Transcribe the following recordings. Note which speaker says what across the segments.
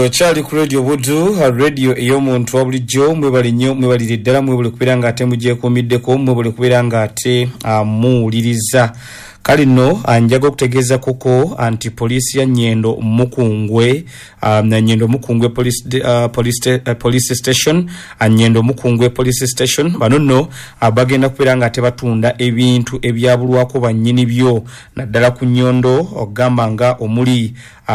Speaker 1: Okyali ku Radio Buddu, radio ey'omuntu wa bulijjo. Mwebale nnyo, mwebalire ddala, mwebale kubeera nga ate mugyekuumiddeko, mwebale kubeera nga ate muwuliriza. Kale nno njaga okutegeeza kuko nti poliisi ya Nyendo Mukungwe, Nyendo Mukungwe Police, Police, Police Station, Nyendo Mukungwe Police Station, bano nno bagenda kubeera nga ate batunda ebintu ebyabulwako bannyini byo, naddala ku nnyondo, ogamba nga omuli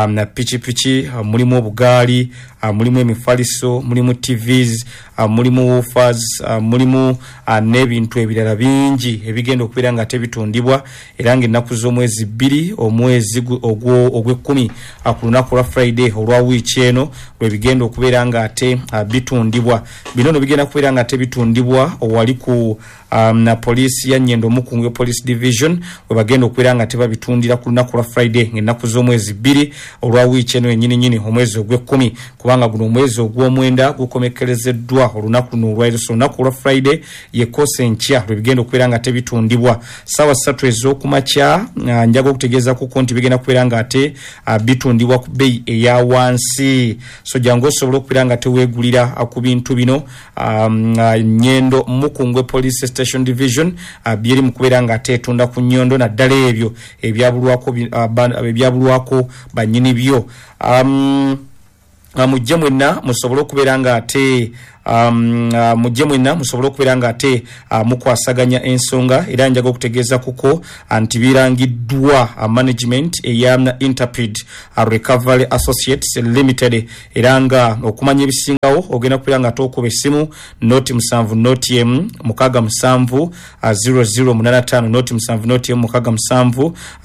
Speaker 1: na pikipiki, mulimu obugaali, mulimu emifaliso, mulimu TVs, mulimu woofers, mulimu n'ebintu ebirala bingi ebigenda okubeera nga ate bitundibwa, era ng'ennaku z'omwezi 2 omwezi ogw'ekkumi ku lunaku lwa Friday olwa wiiki eno lwe bigenda okubeera nga ate bitundibwa. Bino no bigenda kubeera nga ate bitundibwa owali ku na poliisi ya Nyendo Mukungwe Police Division, we bagenda okubeera nga tebabitundira ku lunaku lwa Friday ng'ennaku z'omwezi 2 olwa wiiki eno yennyini nnyini omwezi ogw'ekkumi, kubanga guno omwezi ogw'omwenda gukomekkerezeddwa olunaku luno olwaleero. So olunaku lwa Friday yekosa enkya lwe bigenda okubeera nga tebitundibwa ssaawa 3 ez'okumakya. Njaga okutegeeza kuko nti bigenda kubeera nga ate bitundibwa ku bbeeyi eya wansi, so jangu osobola okubeera nga teweegulira ku bintu bino. Nyendo Mukungwe Police Station Division byeri mu kubeera nga ate etunda ku nnyondo, naddala ebyo ebyabulwako bannyini byo. Mujje mwenna musobole okubeera nga ate mujje mwenna musobole okubeera nga ate mukwasaganya ensonga. Era njaga okutegeeza kuko nti birangiddwa management eya Interpid Recovery Associates Limited, era nga okumanya ebisingawo ogenda kubeera nga ate okuba essimu 0 7 0 6 7 00 85, 0 7 0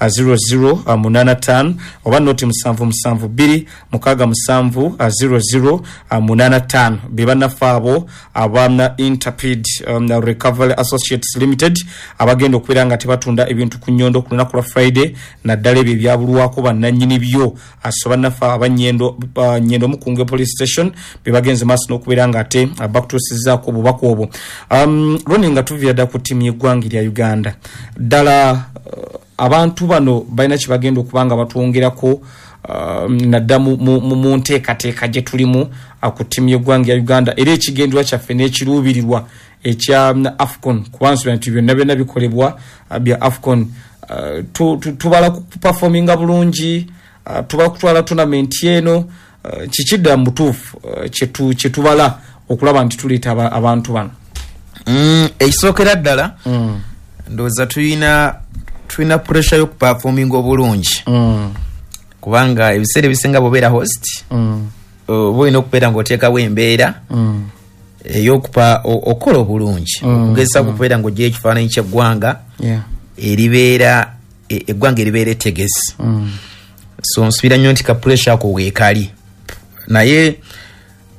Speaker 1: 6 7 00 85, oba 0 7 7 2 6 7 00 85. Be bannaffe abo aba Interpid Recovery Associates Limited abagenda okubeera nga tebatunda ebintu ku nnyondo ku lunaku lwa Friday, naddala ebyo ebyabulwako bannannyini byo. So bannaffe aba Nyendo Mukungwe Police Station be bagenze maaso n'okubeera nga ate bakutuusizzaako obubaka obwo. Lwoni nga tuviira ddala ku ttiimu y'eggwanga erya Uganda, ddala abantu bano balina kye bagenda okuba nga batwongerako, nadda mu nteekateeka gye tulimu ku ttiimu y'eggwanga ya Uganda, era ekigendererwa kyaffe n'ekiruubirirwa ekya AFCON, kuba nsuubira nti byonna byonna bikolebwa bya AFCON. Tubala kuperforminga bulungi, tubala kutwala tournament eno, kiki ddala mu butuufu kyetubala okulaba nti tuleeta abantu bano?
Speaker 2: Ekisookera ddala, ndowooza tulina pressure y'okuperforminga obulungi, kubanga ebiseera ebisinga bw'obeera host, oba olina okubeera ng'oteekawo embeera ey'okupa okukola obulungi, okugezesa okubeera ng'oggyayo ekifaananyi ky'eggwanga eribeera eggwanga eribeera ettegesi. So nsuubira nnyo nti ka pressure ako weekali, naye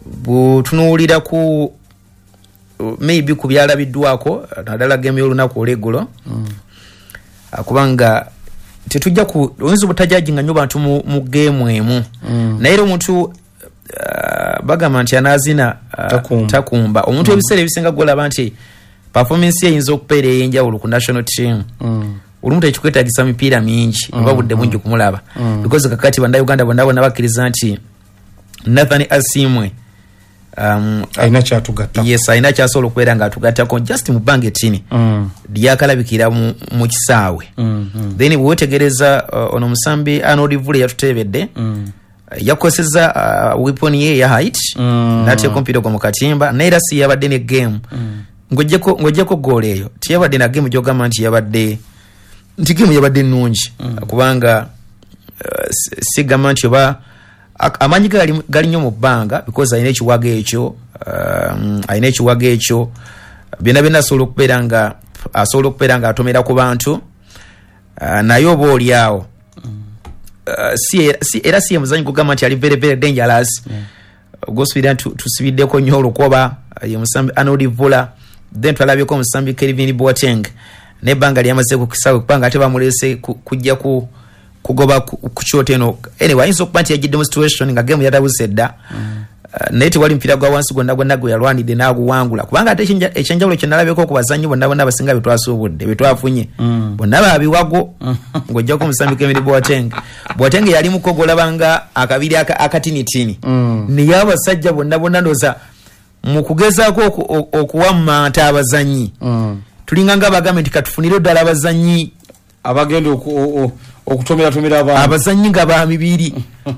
Speaker 2: bw'otunuulira ku maybe ku byalabiddwako, naddala game y'olunaku olw'eggulo, kubanga tetujja ku oyinza obutajajinga nnyo bantu mu game emu, naye era omuntu bagamba nti anaazina
Speaker 1: Takumba.
Speaker 2: Takumba. Omuntu ebiseera ebisinga gwolaba nti performance ye eyinza okubeera ey'enjawulo ku national team, olumu tekikwetagisa mipiira mingi oba budde bungi kumulaba, because kakati bannayuganda bonna bonna bakkiriza nti Nathan Asimwe
Speaker 1: alina kyatugatta.
Speaker 2: Yes, alina kyasobola okubeera ng'atugattako just mu bbanga ettini lyakalabikira mu kisaawe. Then bwewetegereza ono omusambi Arnold Vule yatuteebedde, yakoseza weapon ye eya height, n'ateeka omupiira ogwo mu katimba, naye era si yabadde ne game, ng'oggyeko goolo eyo teyabadde na game gy'ogamba nti yabadde nti game yabadde nnungi, kubanga sigamba nti oba amaanyi ge gali nnyo mu bbanga, because alina ekiwago ekyo, alina ekiwago ekyo byonna byonna, asobola okubeera nga atomera ku bantu, naye oba oli awo era si ye muzanyi gugamba nti ali very very dangerous gwosubira nti tusibiddeko nnyo olukoba. Ye musambi Arnold Vula. Then twalabyeko omusambi Kelvin Boateng nebbanga lyamaze ku kisaawe, kubanga ate bamulese kujja ku kugoba ku kyoto eno. Anyway, ayinza okuba nti yajjidde mu situation nga game yatabuse dda. Naye tewali mupiira gwa wansi gwonna gwonna gwe yalwanidde n'aguwangula, kubanga ate ekyenjawulo kye nalabeko ku bazannyi bonna bonna abasinga betwasuubudde betwafunye bonna babiwago, ng'ojjako omusambi Kemiri Boateng. Boateng yali muko gw'olaba akabiri akatinitini, naye abasajja bonna bonna ndowooza mu kugezaako okuwammanta abazannyi, tulinga nga bagambe nti katufunire ddala abazannyi
Speaker 1: abagenda okutomeratomera abantu,
Speaker 2: abazannyi nga ba mibiri,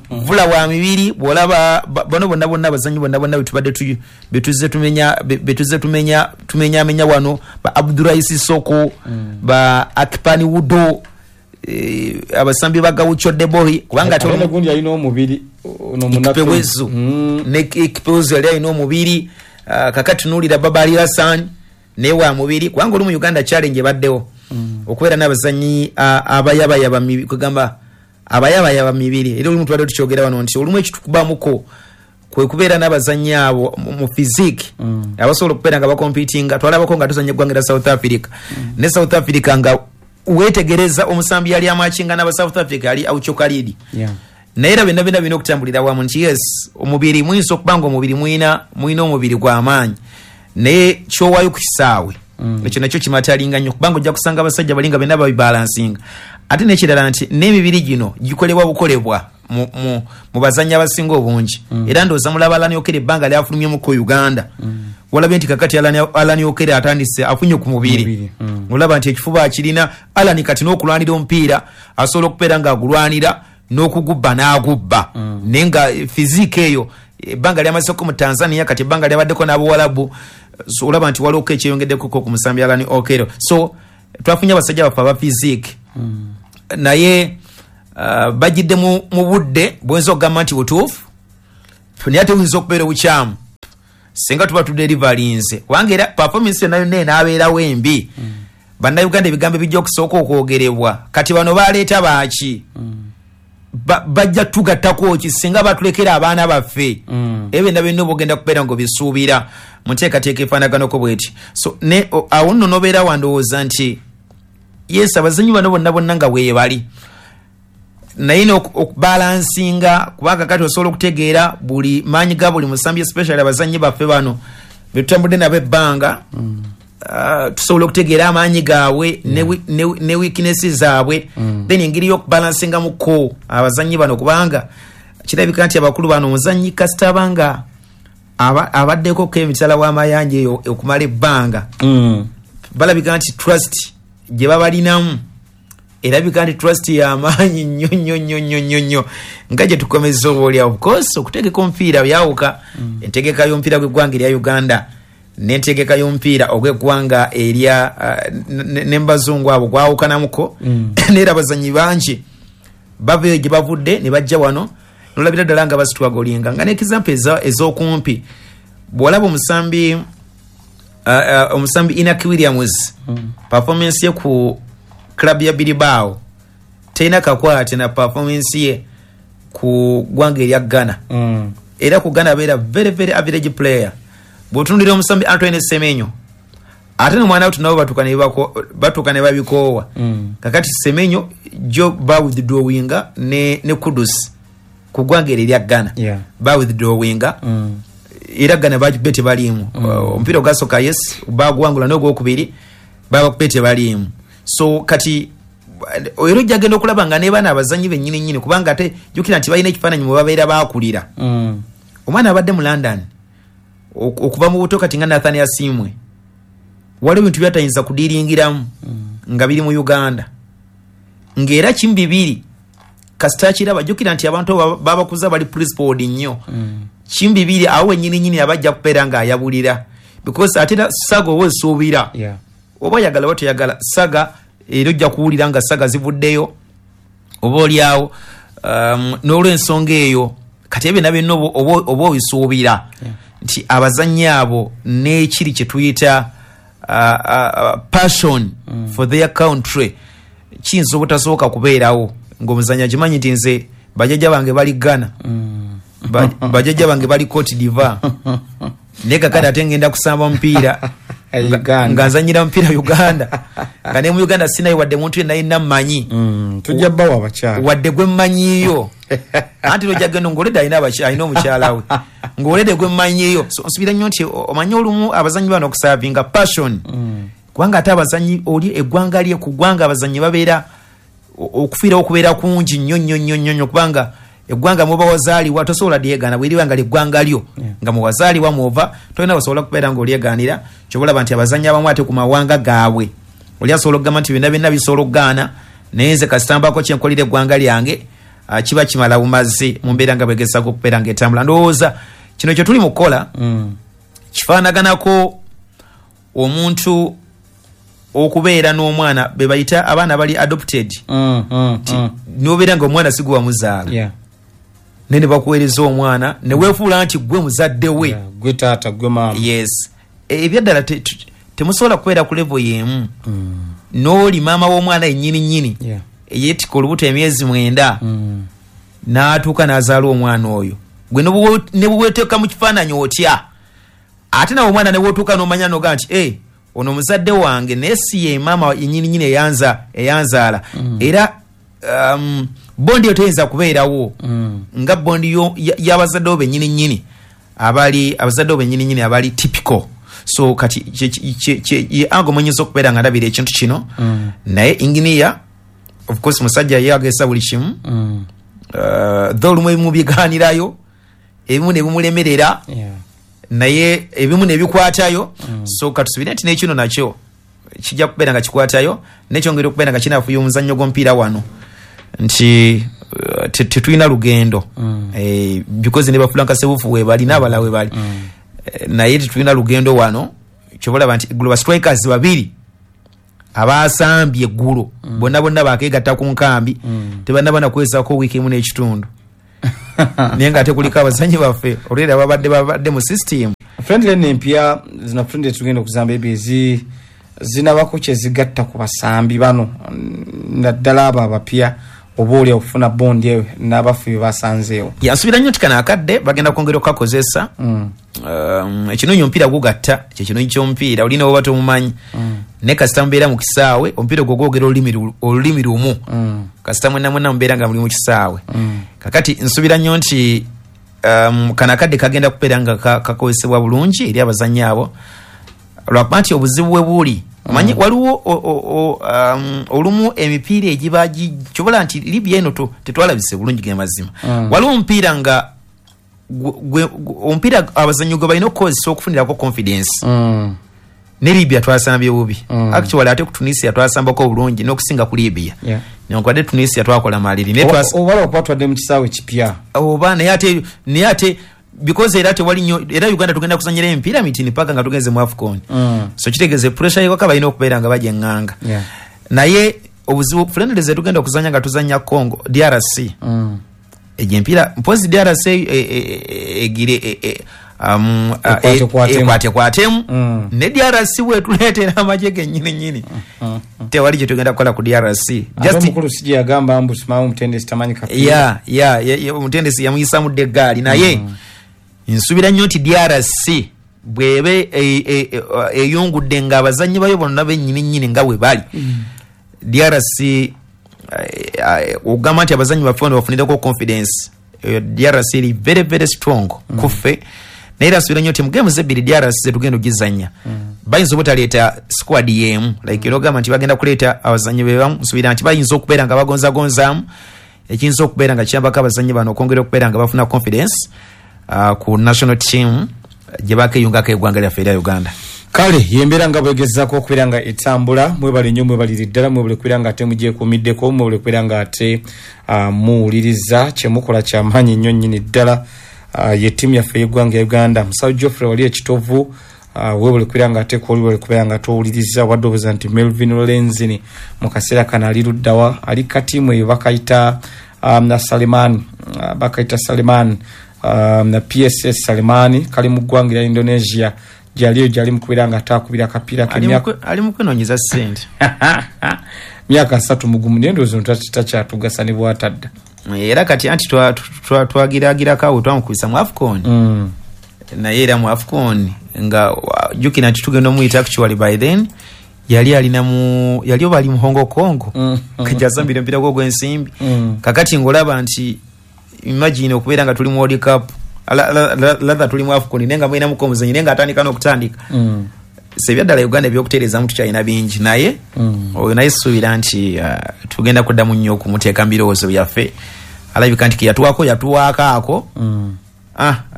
Speaker 2: vula wa mibiri. Bw'olaba bano bonna bonna abazannyi bonna bonna betubadde betuzze tumenya betuzze tumenya tumenyamenya wano, ba Abduraisi Soko, ba Akpani Wudo, abasambi ba Gaucho Debohi, kubanga
Speaker 1: ate gundi alina omubiri ono
Speaker 2: Ikpewezu, ne Ikpewezu yali alina omubiri. Kakati tunuulira Babali Hassan naye wa mubiri, kubanga oli mu Uganda challenge ebaddewo okubeera n'abazannyi abayabayaba kugamba abayabayaba mibiri. Era olumu tubadde tukyogera wano nti olumu ekitukubamuko kwe kubeera n'abazannyi abo mu physique abasobola okubeera nga bakompitinga. Twalabako nga tuzannya eggwanga lya South Africa, ne South Africa nga weetegereza omusambi yali amakinga n'aba South Africa yali Aucho Khalid. Naye era byonna byonna birina okutambulira wamu nti yes, omubiri muyinza okuba nga omubiri mulina omubiri gw'amaanyi, naye kyowaayo ku kisaawe ekyo nakyo kimatalinga nnyo, kubanga ojja kusanga abasajja bali nga byonna babibalansinga. Ate n'ekirala nti n'emibiri gino gikolebwa bukolebwa mu bazannyi abasinga obungi. Era ndowooza mulaba Alani Okere ebbanga lyafulumyemuko Uganda, walabye nti kakati Alani Okere atandise afunye ku mubiri, olaba nti ekifuba akirina Alani kati n'okulwanira omupiira asobola okubeera ng'agulwanira n'okugubba n'agubba, naye nga physique eyo ebbanga lyamazeko mu Tanzania, kati ebbanga lyabaddeko n'Abawalabu, so olaba nti waliwo ekyeyongeddeko ku musambi Alani Okero. So twafunye abasajja baffe aba physique, naye bajjidde mu budde bwoyinza okugamba nti butuufu, naye ate buyinza okubeera obukyamu singa tuba tuderivalinze, kubanga era performance yonna yonna enaabeerawo embi. Bannayuganda ebigambo ebijja okusooka okwogerebwa, kati bano baleeta baaki? Bajja tugattako ki singa batulekera abaana baffe? Ebyo byonna byonna oba ogenda kubeera ng'obisuubira mu nteekateeka efaanaganako bweti. So ne awo nno n'obeera wandowooza nti yes, abazannyi bano bonna bonna nga weebali, naye okubalansinga, kubanga kati osobola okutegeera buli maanyi ga buli musambi, especially abazannyi baffe bano betutambudde nabo ebbanga, tusobola okutegeera amaanyi gaabwe ne weakness zaabwe, then engeri y'okubalansingamuko abazannyi bano, kubanga kirabika nti abakulu bano omuzannyi kasita abanga abaddeko ko emitala w'amayanja eyo okumala ebbanga, balabika nti trust gye babalinamu erabika nti trust y'amaanyi nnyo nnyo nnyo nnyo nnyo nnyo, nga gye tukomeza oba oli awo. Of course okutegeka omupiira byawuka, entegeka y'omupiira gw'eggwanga erya Uganda n'entegeka y'omupiira ogw'eggwanga erya n'embazungu abo gwawukanamuko, neera abazannyi bangi baveeyo gye bavudde ne bajja wano nolabira ddala nga basitwagolinga. Nga n'example ez'okumpi, bw'olaba omusambi Inaki Williams, performance ye ku club ya Bilbao terina kakwate na performance ye ku ggwanga erya Ghana. Era ku Ghana abeera very very average player. Bw'otunuulira omusambi Antoine Semenyo, ate n'omwana we nabo batuuka ne babikoowa. Kakati Semenyo jo ba withdrawinga ne Kudus ku ggwanga eryo erya Ghana, ba withdrawinga, era Ghana bagikubye tebaliimu. Omupiira ogwasooka yes baguwangula, n'ogwokubiri babakubye tebaliimu. So kati era ojja genda okulaba nga ne baana abazannyi bennyini nnyini, kubanga ate jjukira nti balina ekifaananyi mwe babeera baakulira. Omwana abadde mu London okuva mu buto, kati nga Nathan Asiimwe, waliwo ebintu byatayinza kudiringiramu nga biri mu Uganda, ng'era kimu bibiri kasita kiraba. Jjukira nti abantu babakuza bali principled nnyo, kimu bibiri awo wennyini nnyini abajja kubeera ng'ayabulira, because ate era saga oba osuubira, oba oyagala oba toyagala saga, era ojja kuwulira nga saga zivuddeyo oba oliawo, n'olw'ensonga eyo kati ebyo byonna oba obisuubira nti abazannyi abo n'ekiri kye tuyita passion for their country kiyinza obutasoboka kubeerawo ng'omuzannyi akimanyi nti nze bajjajja bange bali Ghana, bajjajja bange bali Cote d'Ivoire, naye kakati ate ngenda kusamba mupiira nga nzannyira mupiira Uganda. Nga ne mu Uganda sinayo wadde muntu yenna yenna mmanyi.
Speaker 1: Tujja bbawa abakyala.
Speaker 2: Wadde gwe mmanyiiyo. Anti lwojja genda ng'olede alina alina omukyala we. Ng'olede gwe mmanyiiyo. So nsubira nnyo nti omanyi olumu abazannyi bano okusavinga passion. Kubanga ate abazannyi oli eggwanga lye ku ggwanga abazannyi babeera okufiirawo okubeera kungi nnyo nnyo nnyo nnyo nnyo kubanga eggwanga muba wazaalibwa tosobola lyegaana bweriba nga lyeggwanga lyo nga muwazaalibwa mwova tolina osobola kubeera ng'olyegaanira. Kyobalaba nti abazannyi abamu ate ku mawanga gaabwe oli asobola okugamba nti byonna byonna bisobola okugaana naye nze kasitambako kyenkolera eggwanga lyange kiba kimala bumazi mu mbeera nga bwegezaako okubeera ng'etambula. Ndowooza kino kye tuli mu kukola kifaanaganako omuntu okubeera n'omwana be bayita abaana bali adopted n'obeera nga omwana si gwe wamuzaala naye ne bakuweereza omwana ne weefuula nti gwe muzadde we,
Speaker 1: gwe taata gwe maama.
Speaker 2: Yes, ebyaddala temusobola kubeera ku level y'emu n'oli maama w'omwana yennyini nnyini eyeetikka olubuto emyezi 9 n'atuuka n'azaala omwana oyo gwe ne bweweteeka mu kifaananyi otya ate nawe omwana ne wootuuka n'omanya n'ogaa nti ono muzadde wange naye si ye maama yennyini nnyini eyanzaala. Era bondi eyo teyinza kubeerawo nga bondi y'abazadde bo bennyini nnyini abali abazadde bo bennyini nnyini abali typical. So kati ye ango mwenyinza okubeera nga ndabira ekintu kino. Naye engineer of course musajja ye agesa buli kimu though olumu ebimu bigaanirayo ebimu ne bimulemerera naye ebimu ne bikwatayo. So katusubire nti n'ekino nakyo kijja kubeera nga kikwatayo nekyongera okubeera nga kinafuya omuzannyo gw'omupiira wano nti tetulina lugendo because ne ba Frank Sebufu webali n'abalala webali naye tetulina lugendo wano. Kyobalaba nti Global Strikers babiri abasambye eggulo bonna bonna bakeegatta ku nkambi tebannaba nakuwezaako wiiki emu n'ekitundu naye nga ate kuliko abazannyi baffe olwera babadde mu system.
Speaker 1: Friendly n'empya zino friendly tugenda okuzamba ebyo zinabako kye zigatta ku basambi bano naddala abo abapya oba oli okufuna bondi eyo n'abafu bye basanzeewo.
Speaker 2: Yansuubira nnyo nti kano akadde bagenda kwongera okukakozesa. Ekinonyi omupiira gugatta kyekinonyi ky'omupiira olina oba tomumanyi naye kasita mubeera mu kisaawe omupiira ogwo gwogera olulimi lumu kasita mwenna mwenna mubeera nga muli mu kisaawe. Kakati nsuubira nnyo nti kano akadde kagenda kubeera nga kakozesebwa bulungi eri abazannyi abo lwakuba nti obuzibu bwe buli omanyi waliwo olumu emipiira egiba kyobola nti Libya eno tetwalabise bulungi ge mazima. Waliwo omupiira nga omupiira abazannyi gwe balina okukozesa okufunirako confidence. Ne Libya twasambye bubi actually ate ku Tunisia twasambako bulungi n'okusinga ku Libya. Newankubadde Tunisia twakola maliri
Speaker 1: obala okuba twadde mu kisaawe kipya
Speaker 2: oba naye ate because era tewali nnyo era Uganda tugenda kuzannyira emipiira mitini paka nga tugenze mu AFCON. So kitegeeze pressure yewaka balina okubeera nga bajeŋŋanga. Naye obuzibu friendly ze tugenda okuzannya nga tuzannya Congo DRC egyo empiira mpozi DRC egire ekwatekwatemu ne DRC bwetuleetera amagye gennyini nnyini tewali kye tugenda kukola ku DRC.
Speaker 1: Omukulu si gye yagamba mbu simamu omutendesi tamanyi
Speaker 2: kapiira. Omutendesi yamuyisamu dda eggaali naye nsuubira nnyo nti DRC bwebe eyungudde nga abazannyi bayo bonna bennyini nnyini nga bwe bali DRC ogamba nti abazannyi baffe bano bafunireko confidence. DRC eri very very strong kuffe naye era nsuubira nnyo nti mu games ebbiri DRC zetugenda ogizannya bayinza obutaleeta squad y'emu like era ogamba nti bagenda kuleeta abazannyi be bamu. Nsuubira nti bayinza okubeera nga bagonzagonzaamu ekiyinza okubeera nga kiyambako abazannyi bano okwongera okubeera nga bafuna confidence ku national team gye bakeeyungako eggwanga lyaffe erya Uganda.
Speaker 1: Kale yembeera nga bwegezaako okubeera nga etambula. Mwebale nnyo mwebalire ddala mwebale kubeera nga ate mugyekuumiddeko mwebale kubeera nga ate muwuliriza kyemukola kyamaanyi nnyo nnyini ddala. Ye ttiimu yaffe y'eggwanga ya Uganda. Musawo Geoffrey wali ekitovu weebale kubeera nga ate kwoli webale kubeera nga towuliriza wadde obuuza nti Melvin Lenzini mu kaseera kano ali luddawa ali katiimu eyo bakayita na Salimani bakayita Salimani na PSS Salimani kali mu ggwanga erya Indonesia gyaliyo gyali mu kubeera nga ataakubira akapiira
Speaker 2: ali mu kwenoonyeza ssente
Speaker 1: myaka 3 mugumu naye ndowooza ono takyatugasa ne bw'atadda.
Speaker 2: Era kati anti twagiragirako awo twamukubisa mu AFCON naye era mu AFCON nga jjukira nti tugenda omuyita actually by then Yali alina mu yali oba ali mu Hong Kong kajasambira empira gwo gw'ensimbi. Kakati ng'olaba nti imagine okubeera nga tuli mu World Cup, latha tuli mu AFCON, naye nga mulinamuko omuzanyi naye nga atandika n'okutandika. So ebyaddala Uganda ebyokutereezamu tukyalina bingi, naye oyo naye suubira nti tugenda kuddamu nnyo okumuteeka mu birowoozo byaffe. Alabika nti keyatuwaako yatuwaako ako.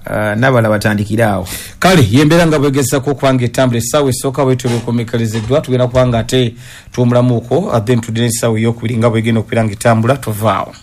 Speaker 2: N'abalala batandikire awo.
Speaker 1: Kale yembeera nga bwegezako okuba nga etambula. Essaawa esooka bwetyo bwekomekalezeddwa, tugenda kuba nga ate tuwumulamuuko, then tudde n'essaawa eyokubiri nga bwegenda okubeera nga etambula. Tovaawo.